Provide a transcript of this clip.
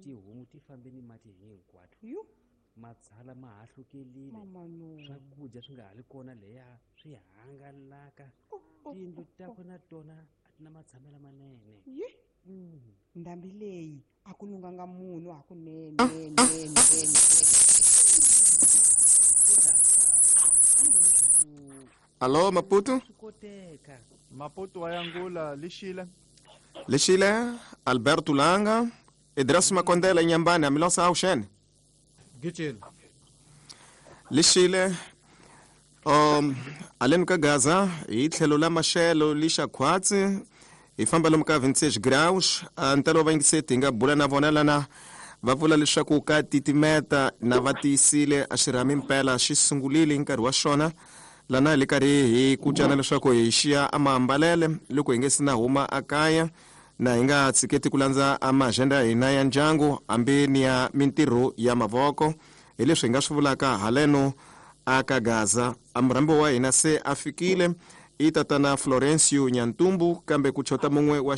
Tihomu ti fambe ni mati hinkwato. Yu. Matshala ma hahlukelile. Mama no. Swakudya swi nga ha ri kona leya swi hangalaka. Oh, oh, Tiyindlu oh, takwe oh. na tona a ti na matshamelo lamanene. Yi. Ndhambi leyi a ku lunghanga munhu hakunene. Nene, nene, nene. Allo Maputo? Swi koteka. Maputo wa yangula lixile. Lexile Alberto Langa, Idris Makondela Nyambani amilosa awuxene. Gicile. Lexile aleni ka Gaza hi tlhelo la maxelo lixa khwatsi hi famba lomu ka 26 graus ntalo wa vayingiseti hi nga bula na vona lana va vula leswaku ka titimeta na va tiyisile a xirhami mpela xi sungulile hi nkarhi wa xona lana hi le karhi hi kucana leswaku hi xiya a maambalele loko hi nge si na huma a kaya na hi nga tshiketi ku landza a maagenda ya hina ya ndyangu hambi ni ya mintirho ya mavoko hi leswi hi nga swi vulaka haleno a ka Gaza. A murhambi wa hina se a fikile i tatana Florencio Nyantumbu kambe ku chota mun'we wa